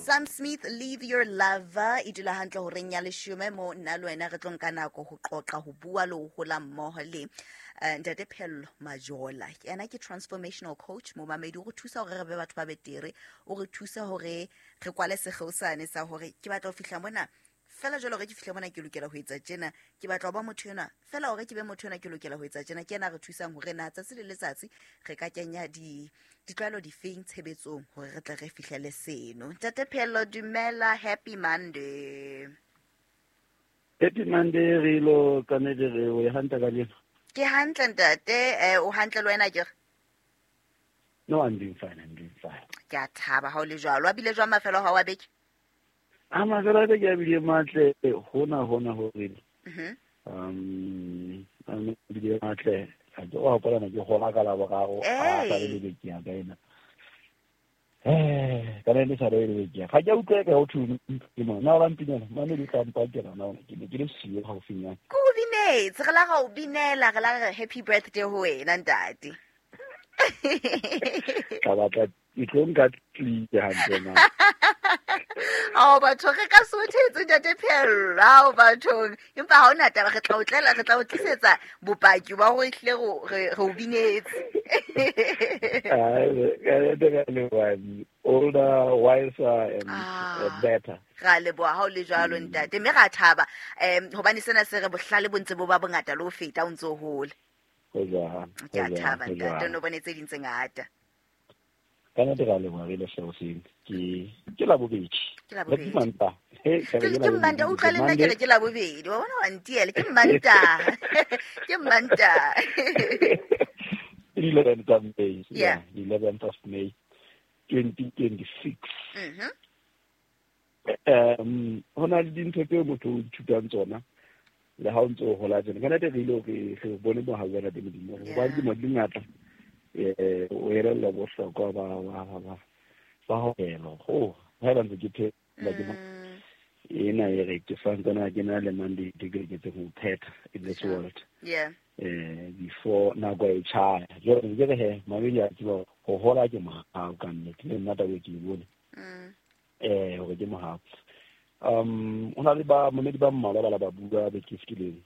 Sam Smith, Leave Your Lover, e dula hantle horeng ya 10 mo nna le wena re tlo nka nako ho qoqa, ho bua le ho hola mmoho le Ntate Pheello Majola. Yena ke transformational coach, momamedi, o re thusa hore re be batho ba betere, o re thusa hore re kwale sekgeosane sa hore ke batla ho fihla mona fela jwale, hore ke fihle mona ke lokela ho etsa tjena, ke batla ho ba motho enwa fela, hore ke be motho enwa ke lokela ho etsa tjena. Ke yena re thusang hore na tsatsi le letsatsi re ka kenya ditlwaelo difeng tshebetsong hore re tle re fihlele seno. Ntate Pheello, dumela, happy Monday. Happy Monday, re ilo ka nnete re o hantle kajeno. Ke hantle ntate, o hantle le wena akere? No, I'm doing fine, I'm doing fine. Ke a thaba ha o le jwalo. A bile jwang mafelo ha wa beke? A mafelo a beke a bile matle hona hona hore. A bile matle. A ke o hopola ke hola ka la boraro, a sa le beke ya ka ena. Ka le sa le beke. Ga ke utlwe ka ho thwe ke mo. Na ba mpinela, mane di tla mpakela na ke ne ke le siyo haufinyana. Ko o binetse, re la ga o binela, re la re happy birthday ho wena ntate. Ka batla e tlo nka tlile hantle na. Ao batho re ka sothetse ntate Pheello, ao bathong, empa ha hona taba, re tla o tlela, re tla o tlisetsa bopaki ba hore ehlile re o binetse. Older, wiser and better. Ra leboha ha o le jwalo ntate, mme ra thaba hobane sena se re bohlale bo ntse bo ba bongata le ho feta o ntse o hola. Ho jwalo. Ke a thaba ntate, no bone tse ding tse ngata. Ka nnete ra leboha re le hlahoseng. Ke Labobedi. Ke Labobedi. Ke Mantaha. Ke Mantaha, utlwa le nna ke re ke Labobedi. Wa bona wa ntiela, ke Mantaha. Ke Mantaha. 11th of May. Yeah. 11th of May 2026. Ho na le dintho tseo motho o ithutang tsona le ha o ntse o hola tjena. Ka nnete re ile re bone mohau wa Ntate Modimo. Hobane dilemo di ngata, o elellwa bohlokwa ba ho elo. Ho, haeba ntse ke phela ke ena e re ke santsane ke na le mandate ke loketseng ho phetha in this world. Before nako e tjhaya. Jwale ke re he, mamedi a tseba ho hola ke mohau ka nnete. Le nna taba e ke e bone. Hore ke mohau. Ho na le ba mamedi ba mmalwa ba la ba bua beke e fetileng.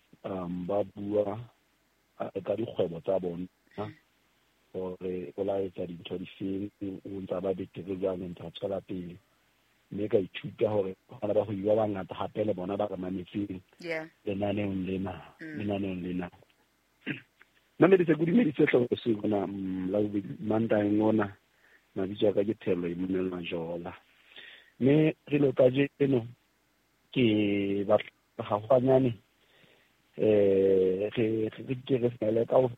Ba bua ka dikgwebo tsa bona hore o la etsa dintho difeng, o ntsa ba betere jwang, o ntsa tswela pele. Mme ka ithuta hore bana ba hwebo ba bangata hape le bona ba re mametseng lenaneong lena, lenaneong lena. Mamedi se ke dumedise hle hoseng hona, Labobedi, Mantaheng ona, mabitso a ka ke Pheello Emmanuel Majola. Mme re lo kajeno ke batla hahwanyane, re ke re fele ka ho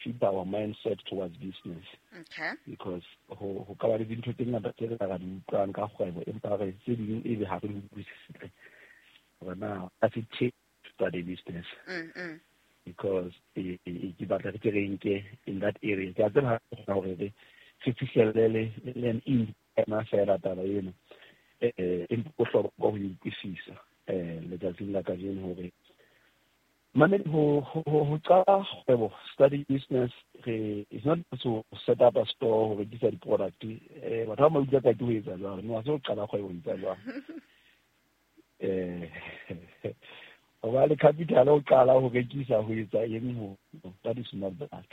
fit our mindset towards business. Because ho ka ba le dintho tse ngata tse re ka di utlwang ka kgwebo, empa re tse ding ebe ha re di utlwisise hore na does it take to start a business. Because ke batla re ke re nke in that area. Ke a tseba hore re fihlelle le an in ema fela taba eno. Empa bohlokwa ho utlwisisa, letsatsing la kajeno hore mamedi ho qala kgwebo, study business, re it's not to set up a store ho rekisa di-product. Batho ba ba utlwa ka ke ho etsa jwalo, no ha se ho qala kgwebo ho etsa jwalo. Ho ba le capital ho qala ho rekisa ho etsa eng ho, that is not that.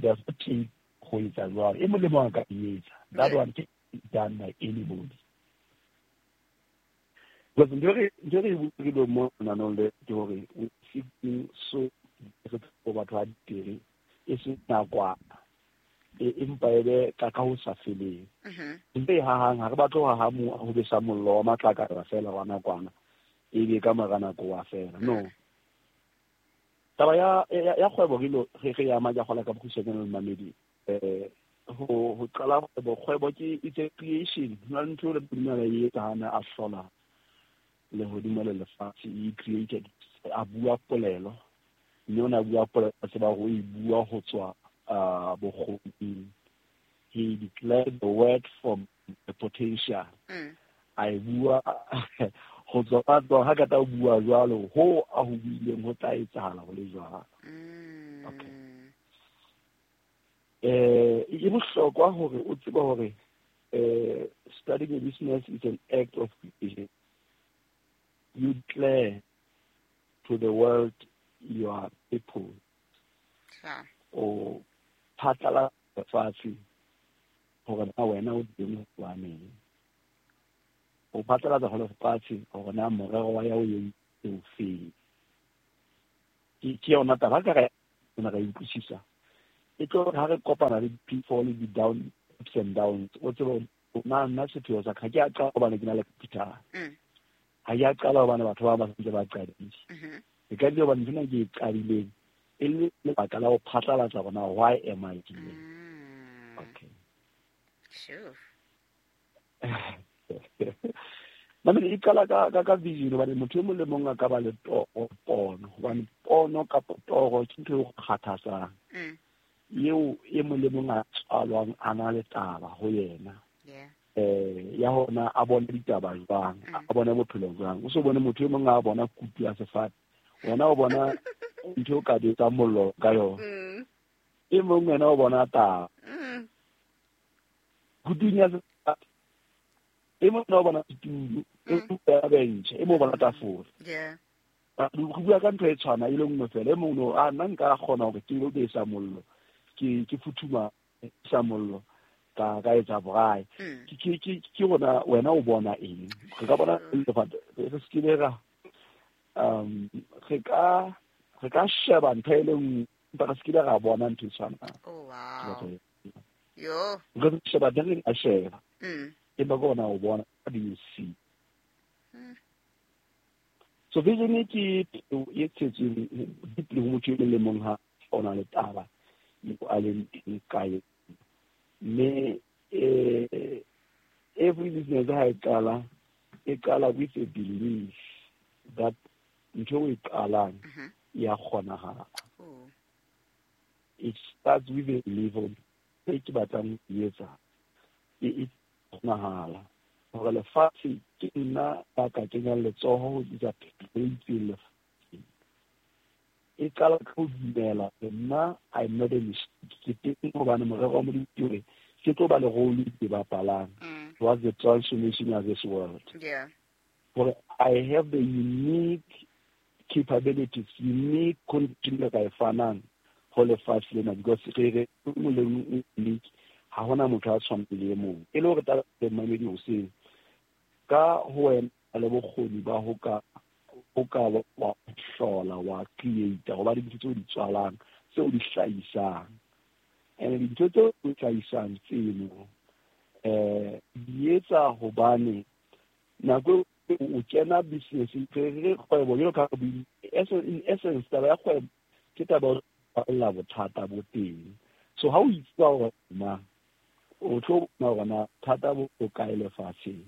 Does not take ho etsa jwalo. E mong le mong a ka e etsa. That one can be done by anybody. Because ntho e re e buileng mo lenaneong le ke hore we seeking so re tlo batho ba diteri e se nakwana, empa e be ka ho sa feleng. Ntho e hahang, ha re batle ho haha mo ho besa mollo wa matlakala fela wa nakwana, e be ka mora nako wa fela. No. Taba ya kgwebo re lo, re ya ama, ke a kgolwa ka bokgutshwanyane le mamedi. Ho qala kgwebo, kgwebo ke it's a creation. Ho na le ntho e le Modimo a e etsa ha a ne a hlola lehodimo le lefatshe, he created, a bua polelo, mme o ne a bua polelo, a tseba hore o e bua ho tswa, bokgoning. He declared the word from the potential. A e bua ho tswa ka tswa, ha ka tla bua jwalo, ho a ho buileng ho tla etsahala ho le jwalo. Okay. E bohlokwa hore o tsebe hore, Starting a business is an act of creation. You declare to the world your people. O phatlalatsa lefatshe hore na wena o teng hobaneng. O phatlalatsa ho lefatshe hore na morero wa ya o entse o feng. Ke yona taba ka re re utlwisisa. E tlo ha re kopana le di-pitfall le di-down, ups and downs, o tsebe nna sepheo sa ka, ha ke a qala hobane ke na le capital. Ha ke a qala hobane batho ba ba sentse ba qadile. E ka dile hobane ntho ena ke e qadileng e le lebaka la ho phatlalatsa hore na why am I here. Okay. Sure. Mamedi, e qala ka vision, hobane motho e mong le mong a ka ba le toro, pono, hobane pono kapa toro ke ntho e o kgathatsang. Eo e mong le mong a tswalwang a na le taba ho yena. Ya hona a bone ditaba jwang, a bone bophelo jwang. O so bone motho e mong a bona kutu ya sefate, wena o bona ntho o ka betsang mollo ka yona. E mong wena o bona taba. Kutung ya sefate, e mong o bona setulo, e mong o bench, e mong o bona tafole. Re bua ka ntho e tshwana e le nngwe fela. E mong no, a nna nka kgona hore ke lo besa mollo, ke futhuma sa mollo, ka etsa braai. Ke rona wena o bona eng? Re ka bona re se ke ra re ka sheba ntho e le nngwe, empa re se ke ra bona ntho e tshwanang. Oh wow. Yo. Re sheba teng re ka sheba. Empa ke ona o bona, what do you see? So vision ke e tshetsweng deeply ho motho e mong le mong ha o na le taba eo a leng teng ka yona. Mme every business ha e qala, e qala with a belief that ntho e qalang ya kgonahala. It starts with a belief of e ke batlang ho etsa e kgonahala. Hore lefatshe ke nna ya ka kenyang letsoho ho tlisa phetoho e itseng lefatsheng. E qala ka ho dumela hore nna I'm not a mistake. Ke teng hobane morero wa Modimo ke hore ke tlo ba le role ke bapalang towards the transformation of this world. Hore I have the unique capabilities, unique condition ka e fanang ho lefatshe lena, because re re mong le mong unique, ha hona motho a tshwanang le e mong. E le hore taba e mamedi hoseng, ka ho wena le bokgoni ba ho ka wa hlola, wa create, ho ba dintho tseo di tswalang, tseo di hlahisang. And dintho tseo di hlahisang tseno, di etsa hobane nako o kena business, re kgwebo jwalo ka in essence taba ya kgwebo ke taba ya ho rarolla bothata bo teng. So ha o itseba hore ma o tlo bona hore na bothata bo kae lefatsheng,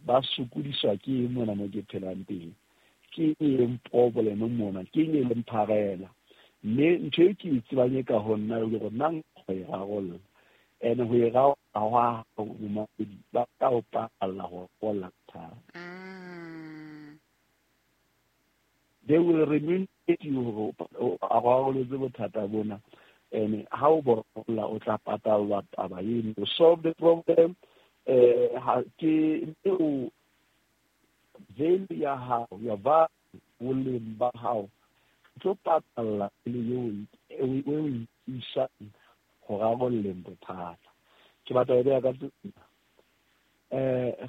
ba sokodiswa ke eng mona mo ke phelang teng, ke eng problem mona, ke eng e leng pharela. Mme ntho e ke e tsebang e ka ho nna e le hore nna nka ho e rarolla. And ho e rarolla hwa hao momamedi, ba tla o patalla ho rarolla bothata. They will remunerate you hore o rarolletse bothata bona. And ha o bo rarolla, o tla patallwa taba eno. You solve the problem, ha ke o value ya hao, ya value, boleng ba hao, tlo patalla le eo o e isang ho rarolleng bothata. Ke batla ho beha ka tsela.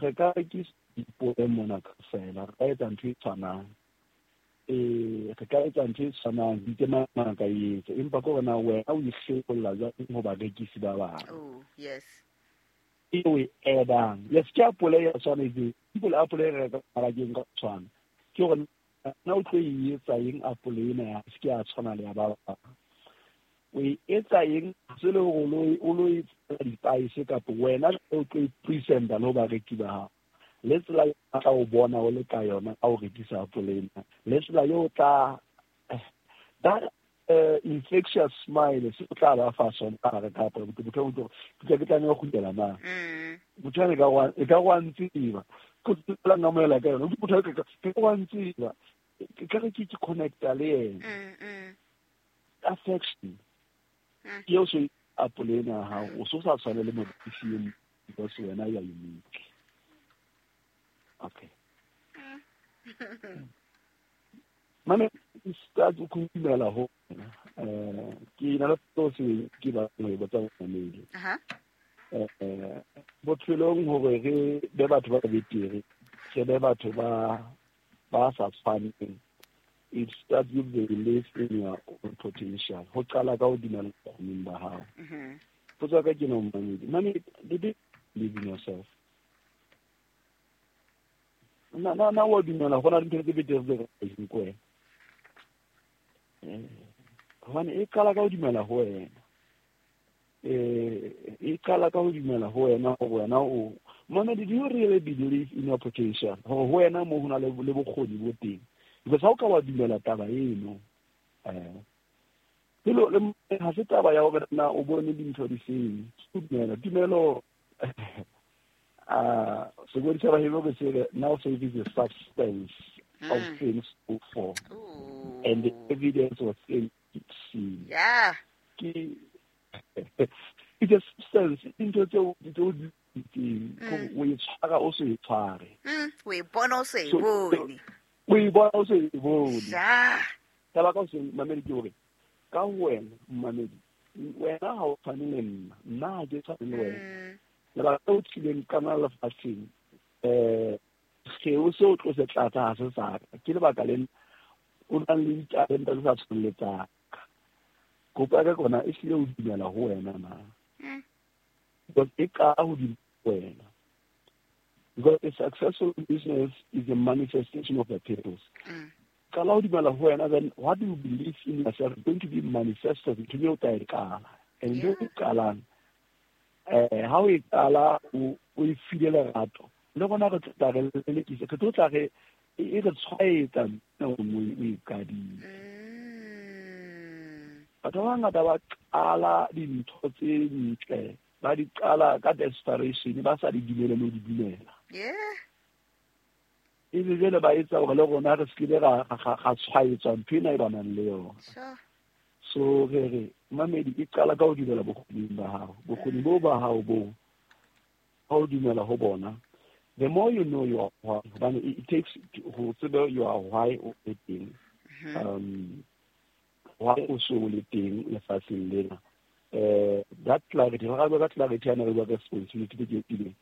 Re ka rekisa dipone mona kaofela, re ka etsa ntho e tshwanang. Re ka etsa ntho e tshwanang, di ke mang ka e etsa, empa ke hore na wena o ihlolla jwang ho barekisi ba bang. Oh, yes. E o e add-ang. Yes, ke apole ya tshwana e simple apole e re reka mmarakeng ka tshwana. Ke hore na o tlo e etsa eng apole ena ya se ke ya tshwana le ya ba bang. O e etsa eng se le hore o lo e etsa dipaese kapa wena o tlo e presenta le ho bareki ba hao. Le tsela eo ba tla o bona o le ka yona ha o rekisa apole ena. Le tsela eo o tla that infectious smile se o tla ba fa sona ha re ka apole. Motho o tlo ke tlameha ho kgutlela na. Motho ane e ka wa ntseba. Ko tsela ngamoela ka yona. Motho ke wa ntseba. Ke ka re ke connecta le yena. Affection. Ke eo so apole ena ya hao, o so sa tshwane le morekisi e mong. Because wena you are unique. Okay. Mame, start go dumela ho wena. Ke na le se ke ba go botsa mamedi. Bophelong hore re be batho ba betere, re be batho ba sa tshwaneng. It starts with the belief in your own potential. Ho qala ka ho dumela bokgoning ba hao. Potso ya ka ke no mamedi. Mame, did you believe in yourself? Na wa dumela go na le ntho tse betere tse ka eng ko wena? Hobane e qala ka ho dumela ho wena. E qala ka ho dumela ho wena hore wena o mamedi, do you really believe in your potential? Hore ho wena mo ho na le bokgoni bo teng. Because ha o ka wa dumela taba eno, pelo le ha se taba ya hore na o bone dintho di feng. Dumela, tumelo sekodi sa bahebo ke se now faith is the substance of things hoped for and the evidence of things seen. Yeah. Ke it's a substance ntho tseo tseo di teng o e tshwara o se e tshware. O e bona o se e bone. O e bona o se e bone. Ja. Taba ka se mamedi ke hore ka wena mamedi wena ha o tshwane le nna, nna ha ke tshwane le wena. Lebaka o tlileng ka na lefatsheng seo se o tlo se tlatsa ha se sa ka. Ke lebaka lena o nang le ditalente tse sa tshwaneng le tsa ka. Kopo ya ka kona e hlile o dumela ho wena na. Because e qala ho dumela ho wena. Because a successful business is a manifestation of a purpose. Qala ho dumela ho wena, then what do you believe in yourself is going to be manifested ntho eo o tla e qala. And ntho e qalang ha o e qala o e file lerato le rona re tla re lelekisa, re tlo tla re e re tshwaetsa o e qadile. Batho ba bangata ba qala dintho tse ntle, ba di qala ka desperation, ba sa di dumele le ho di dumela. Ebe jwale ba etsa hore le rona re se ke ra tshwaetswa ntho ena e ba nang le yona. So re re mamedi e qala ka ho dumela bokgoning ba hao. Bokgoni bo ba hao bo ha o dumela ho bona, the more you know your why, hobane it takes ho tseba your why o le teng. Why o so le teng lefatsheng lena. That clarity, ra bua ka clarity ana re bua ka responsibility ke pele.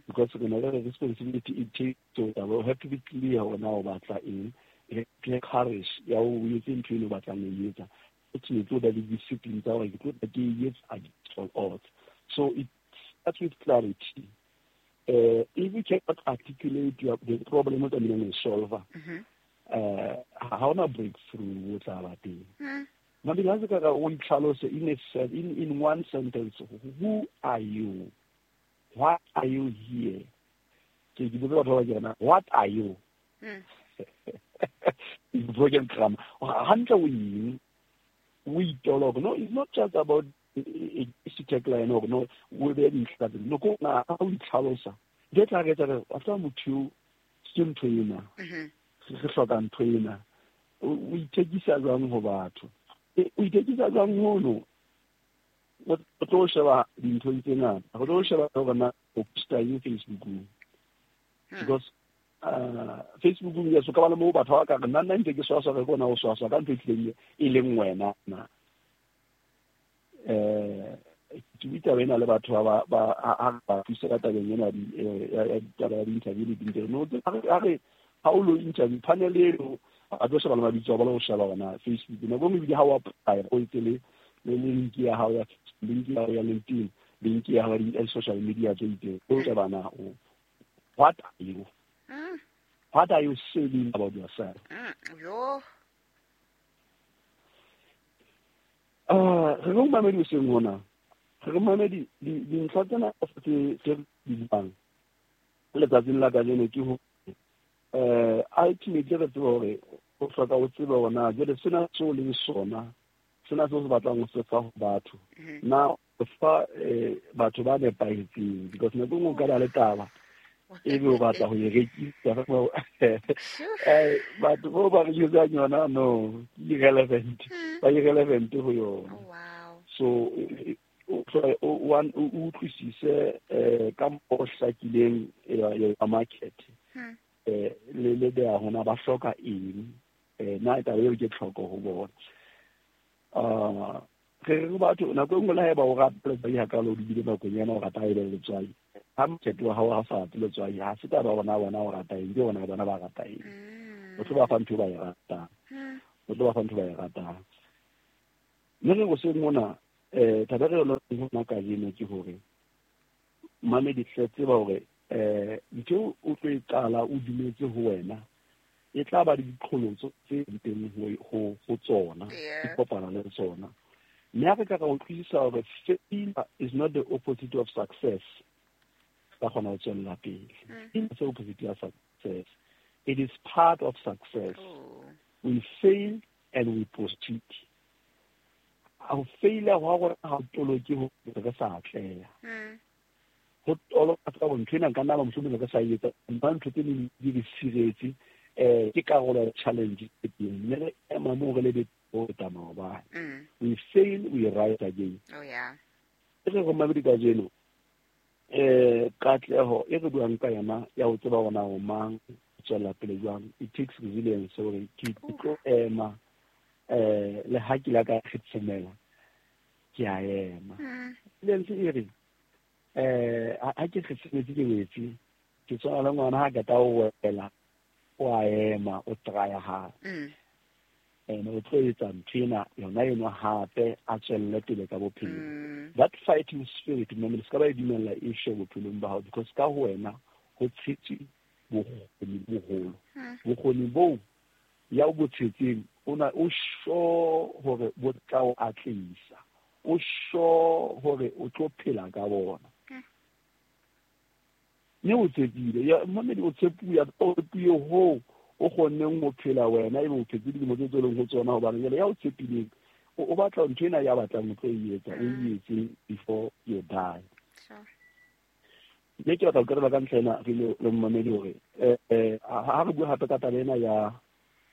Because re na le responsibility it takes, so we have to be clear hore na o batla eng. E courage ya o etse ntho eno o batlang ho e etsa. Ke tlo ba le discipline tsa hore ke tlo ke e etsa at all odds. So it starts with clarity. If you cannot articulate the problem o tlamehileng ho e solve, ha hona breakthrough o tla ba teng. Mabili ha se ka o itlhalose in one sentence, who are you? Why are you here? Ke botsa batho ba ke rena, what are you? It's broken grammar. Hantle o eng? O itoloka. No, it's not just about a tagline or no, o be dintlha tse. No, ko na ha o itlhalosa. Ntho e tla re etsa re after motho ke ntho ena. Re hloka ntho ena. O ithekisa jwang ho batho? O ithekisa jwang hono? O tlo sheba dintho tse ngata. O tlo sheba hore na o posta eng Facebookong. Because Facebookong yes, o ka ba le moo batho ba ka re nna nna ntse ke swaswa re bona o swaswa ka ntho e tlileng e leng wena na. Ke bua ena le batho ba ba thusa ka tabeng ena ya ditaba ya di-interview le dintho. No, ha re ha o lo interview panel eno a tlo sheba le mabitso a bona ho sheba hona Facebook. Nako e nngwe ebile ha o apply o etse le link ya hao ya link ya hao ya LinkedIn, link ya hao ya social media tse itseng. O sheba na o what are you? What are you saying about yourself? Yo. Re re mamedi o seng hona. Re mamedi dintlha tsena tse di buang letsatsing la kajeno ke ho ultimately re tseba hore o hloka o tsebe hore na jwale sena seo leng sona, sena seo se batlang ho se fa ho batho. Na o fa batho ba nepahetseng, because nako e nngwe o ka ba le taba ebe o batla ho e rekisa. Batho bao ba rekisang yona, no, ke irrelevant. Ba irrelevant ho yona. Oh, wow. So o utlwisise ka mo hlakileng ya market le beha hona ba hloka eng, na taba eo ke tlhoko ho bona. Re re batho nako e nngwe le haeba o rata letswai hakalo o dibile nakong ena o rata e be letswai, ha market wa hao ha sa rate letswai, ha se taba bona o rata eng, ke bona bona ba rata eng. O tlo ba fa ntho ba e ratang, o tlo ba fa ntho ba e ratang. Mme re hoseng mona taba re yona hona kajeno ke hore mamedi hle tseba hore ntho o tlo e qala o dumetse ho wena e tla ba le diqholotso tse teng ho tsona, di kopana le tsona. Mme ha re ka ra utlwisisa hore failure is not the opposite of success, ka kgona ho tswella pele. It's the opposite of success. It is part of success. We fail and we proceed. Ho faila hwa rona ha o toloke ho re sa atleha. Ho toloka ka ntho ena nka nna ba mohlomong re sa etsa, empa ntho tse ding di re siretse, ke karolo ya challenge e teng. Mme re ema moo re lebe ho feta maobane. We fail, we rise again. Oh yeah. Re re mamedi kajeno, katleho e re buang ka yona ya ho tseba hore na o mang, o tswella pele jwang. It takes resilience hore ke tlo ema, le ha ke la ka kgetshemela, ke a ema. Resilience e re, ha ke kgetshemetse ke wetse, ke tshwana le ngwana ha qeta ho wela, o a ema, o try hape. Ene o tlo etsa ntho ena yona eno hape, a tswelle pele ka bophelo. That fighting spirit, mme se ka ba e dumella e shwe bophelong ba hao, because ka ho wena ho tshetswe bokgoni boholo. Bokgoni boo ya o bo tshetseng, o na o sure hore bo tla o atlehisa, o sure hore o tlo phela ka bona. Mme o tshepile, ya mamedi o tshepuya, o tshepuye ho o kgonneng ho phela wena, ebe o phetse dilemo tse tsweleng ho tsona, hobane jwale ya o tshepileng, o batla ntho ena ya batlang o tlo e etsa, o e etse before you die. Mme ke batla ho qetela ka ntlha ena re le mmamedi hore ha re bua hape ka taba ena ya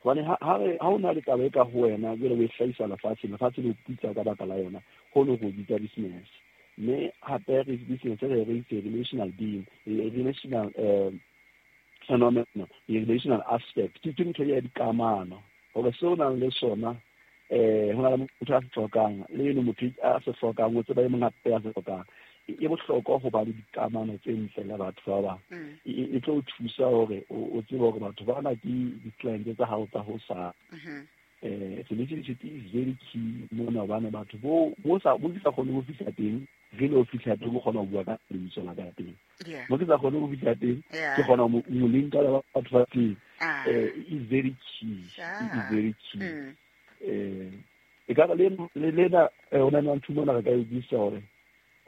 hobane ha o na le taba e ka ho wena, jwale o e hlahisa lefatsheng, lefatshe le o putsa ka baka la yona, ho no go bitsa business. Mme hape re business re re itse relational being, relational phenomenon, relational aspect, ke ntho ya dikamano hore seo o nang le sona, ho na le motho a se hlokang, le eno motho a se hlokang, o tseba e mong hape a se hlokang. E bohlokwa ho ba le dikamano tse ntle le batho ba bang. E tlo o thusa hore o tsebe hore batho bana ke di-client tsa hao tsa hosane. Relationship is very key mona, hobane batho bo sa bo ke sa kgone ho fihla teng, re le ho fihla teng, o kgona ho bua ka lebitso la ka teng. Mo ke sa kgone ho fihla teng, ke kgona ho mo linka le batho ba teng. Is very key. Is very key. E ka le lena o na le ntho mona re ka e utlwisisa hore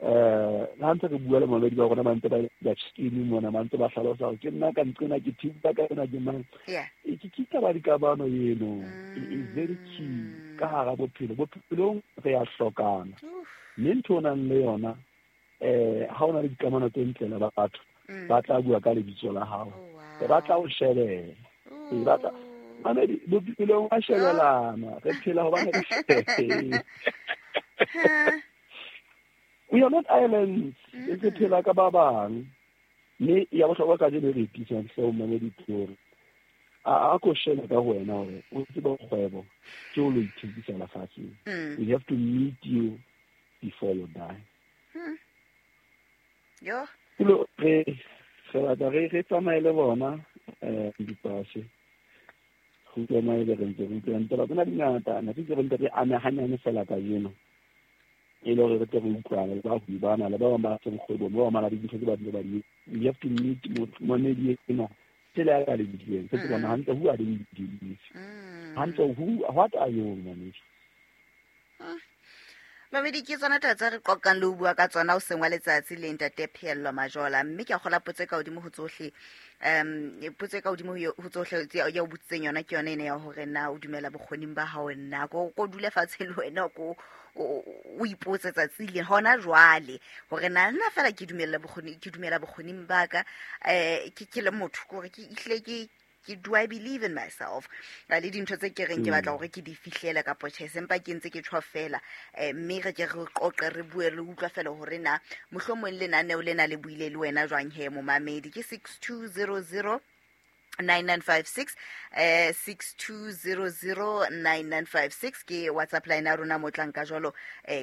ha ntse re bua le mamedi ba rona, ba ntse ba scheme mona, ba ntse ba hlalosa hore ke nna ka nqena, ke thiba ka yona, ke mang. Ke taba dikamano eno is very key ka hara bophelo. Bophelong re a hlokana, mme ntho o nang le yona, ha o na le dikamano tse ntle le batho, ba tla bua ka lebitso la hao, ba tla o shebela, ba tla mamedi bophelong ba shebelana, re phela hobane re shebela. We are not islands. Re phela ka ba bang. Mme ya bohlokwa kajeno re itisang hle o mamedi ke hore a ko shebe ka ho wena hore o tsebe kgwebo ke o lo ithekisa lefatsheng. We have to meet you before you die. Yo. Kulo re batla re tsamaye le bona dipase. Go tsamaye le re ntse re utlwa ntse ba tsena dingata, na ke re ntse re ame hanyane fela kajeno. E le hore re tle re utlwane le bahwebi bana le ba bang ba seng kgwebong, ba bang ba na le dintho tse ba di ba di. We have to meet momedi ena tsela ya ka le bidileng. Se tsebana hantle who are the dealers. Hantle who, what are you momedi? Mamedi ke tsona taba tse re qoqang le ho bua ka tsona hoseng wa letsatsi le ntate Pheello Majola. Mme ke a kgola potso e ka hodimo ho tsohle, potso e ka hodimo ho tsohle ya o botsitseng yona ke yona ena ya hore na o dumela bokgoning ba hao na, ko dule fatshe le wena ko o ipotse tsatsi le hona jwale hore na nna fela ke dumela bokgoni, ke dumela bokgoning ba ka, ke le motho, ke hore ke ihle ke Ke do I believe in myself le dintho tse ke reng ke batla hore ke di fihlele kapo tjhe, sempa ke ntse ke tjho fela. Mme re ke re qoqe, re bue, re utlwa fela hore na mohlomong lenaneo lena le buile le wena jwang he momamedi. Ke 6200 9956, 6200 9956 ke WhatsApp line ya rona mo tlang ka jwalo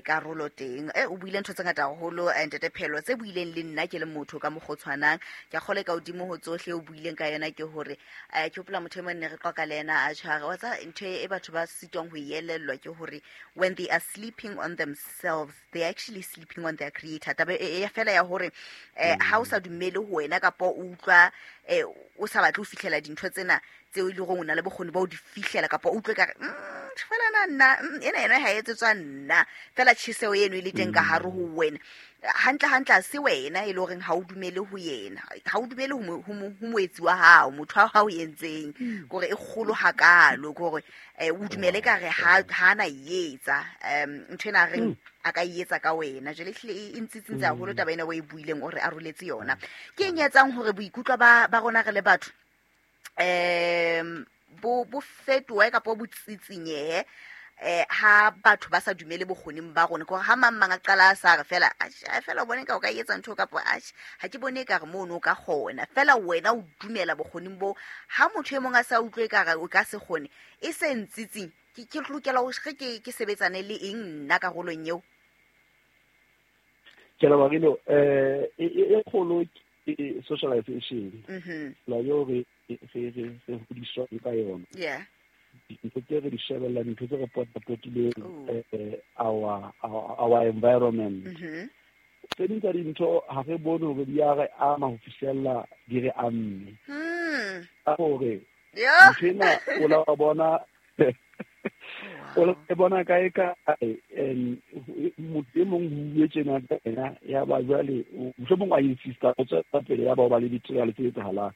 karolo teng. O buile ntho tse ngata haholo, ntate Phelo, tse buileng le nna ke le motho ka mokgwa o tshwanang. Ke a kgole ka hodimo ho tsohle o buileng ka yona ke hore ke hopola motho e mong ne re qoqa le yena, a tjhare wa tsa ntho e batho ba sitwang ho e elellwa ke hore when they are sleeping on themselves, they are actually sleeping on their creator. Taba e fela ya hore ha o sa dumele ho wena kapa o utlwa o sa batle ho fihlela dintho tsena tseo e leng hore o na le bokgoni ba ho di fihlela, kapa o utlwe kare fela na nna ena yona ha e etsetswa nna fela, tjheseho eno e le teng ka hare ho wena, hantle hantle ha se wena e le horeng ha o dumele ho yena, ha o dumele ho moetsi wa hao, motho wa hao entseng kore e kgolo hakalo, kore o dumele ka re ha na e etsa ntho ena reng a ka e etsa ka wena. Jwale ehlile e ntsitsintse haholo taba ena o e buileng, o re aroletse yona. Ke eng e etsang hore boikutlo ba rona re le batho bo fetohe kapa bo tsitsinyehe ha batho ba sa dumele bokgoning ba rona? Kore ha mang mang a qala a sa re fela, "Atjhe, fela o bone ka o ka etsa ntho," kapa "Atjhe, ha ke bone ekare mono o ka kgona," fela wena o dumela bokgoning bo, ha motho e mong a sa utlwe ekare o ka se kgone, e se ntsitsing, ke lokela hore ke sebetsane le eng nna karolong eo? Ke leboha, Rilo. E kgolo ke socialization, la eo re hodiswang ka yona, dintho tse re di shebellang, dintho tse re potapotileng, our environment. Tse ding tsa dintho ha re bone hore di a re ama ho fihlella di re amme, ka hore ntho ena o la wa bona, o la e bona kae kae, and motho e mong ho bue tjena ka ena, ya ba jwale mohlomong a insista o tswela pele, ya ba o ba le ditiragalo tse etsahalang.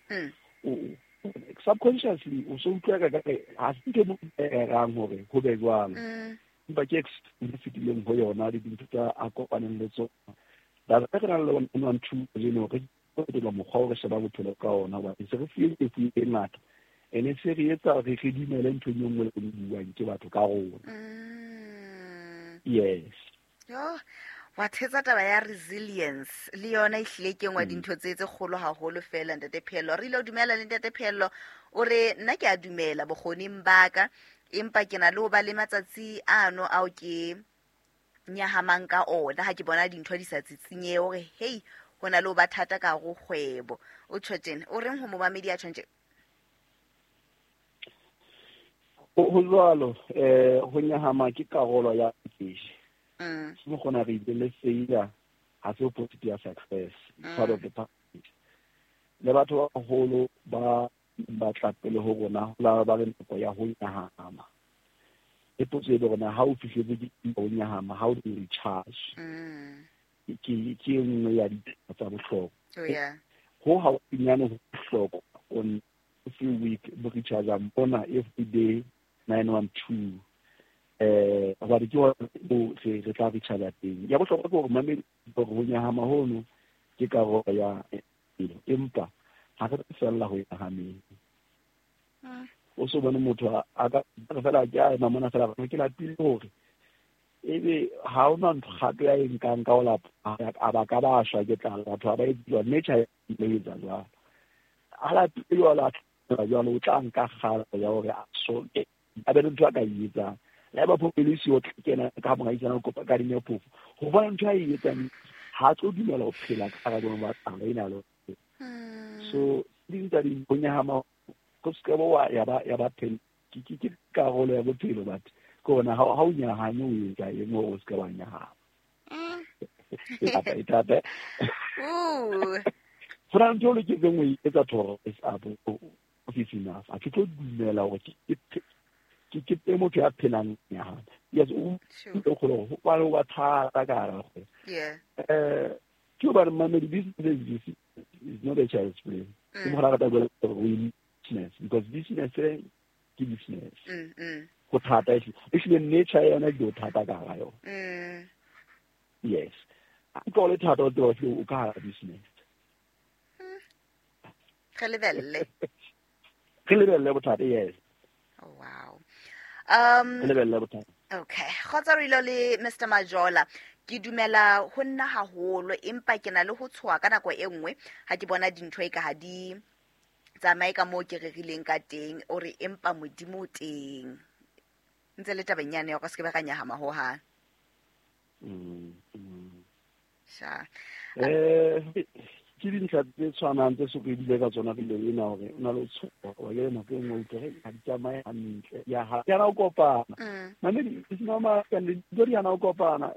Subconsciously o so utlwa ka kare ha se ntho e mo rerang hore ho be jwalo, empa ke experience e fetileng ho yona le dintho tsa a kopaneng le tsona. Ba re nang le 112 kajeno, re fetola mokgwa o re sheba bophelo ka ona, hobane se re fuwe lefu e ngata, ene se re etsa re dumele nthong e nngwe le e buang ke batho ka rona. Yes. Yo, wa thetsa taba ya resilience le yona e hlile ke nngwe dintho tse kgolo haholo fela, ntate Phello. Re ile o dumela le ntate Phello, o re nna ke a dumela bokgoning ba ka, empa ke na le ho ba le matsatsi ano ao ke nyahamang ka ona ha ke bona dintho di sa tsitsinyehe, hore hei, ho na le ho ba thata ka hare ho kgwebo. O tjho tjena, o reng ho momamedi ya tjhong tje? Ho jwalo, ho nyahama ke karolo ya package. Se mo kgona re ile le failure ha se opposite ya success, part of the package. Le batho ba baholo ba batla pele ho rona, ho la ba le nako ya ho nyahama. E potso e be rona, ha o fihletse ke ho nyahama, how do you recharge? Ke e nngwe ya ditaba tsa bohlokwa. Oh yeah. Ho haufinyane ho bohlokwa on every week bo recharge mona every day 912, hobane ke hona mo re tla recharge teng. Ya bohlokwa ke hore mamedi hore ho nyahama hono ke karolo ya bophelo, empa ha re tlo fella ho nyahameng. O so bone motho a ka re fela ke a ema mona fela ke lapile, hore ebe ha ona ntho kgato ya e nkang ka ho lapa, a ba ka ba shwa ke tlala. Batho ha ba etse jwalo, nature e etsa jwalo. A lapile jwalo, a tla jwalo, o tla nka kgato ya hore a so a be le ntho a ka e etsang. Le ha eba phofo e le siyo, o tla kena ka moahisane, o kopa kadime phofo, ho bona ntho a e etsang, ha tlo dumela ho phela ka hara boemo ba tlala ena le. So ding tsa di ho nyahama go se ka ba wa ya ba phela ke karolo ya bophelo, but ke ona ha o nyahame, o etsa eng hore o se ka wa nyahama? E thata, e thata. Ooh. Ho na le ntho o loketseng ho e etsa to rise up office enough. Ha ke tlo dumela hore ke ke motho ya phelang nyahama. Yes, o o kgone hore ho ba le ho ba thata ka hara kgwebo. Ke hobane mamedi, business is not a child's play. Ke mo rata bua hore we business, because business ke business. Ho thata ehlile, nature ya yona ke ho thata ka hara yona. Yes, a utlwa o le thata, o tseba hore o ka hara business. Re lebelle. Re lebelle bothata, yes. Oh, wow. Re lebelle bothata. Okay, kgotsa re ile le Mr Majola. Ke dumela ho nna haholo, empa ke na le ho tshoha ka nako e nngwe ha ke bona dintho e ka ha di tsamaye ka moo ke rerileng ka teng. O re empa Modimo o teng. Ntse le tabeng yane ya hore se ke be ra nyahama hohang. Sha. Ke dintlha tse tshwanang tse so re bile ka tsona pele ena, hore o na le tshoha wa ke nako e nngwe utlwe re ha di tsamaye hantle, ya ha ya na o kopana. Mamedi, it's normal, and dintho di hana ho kopana.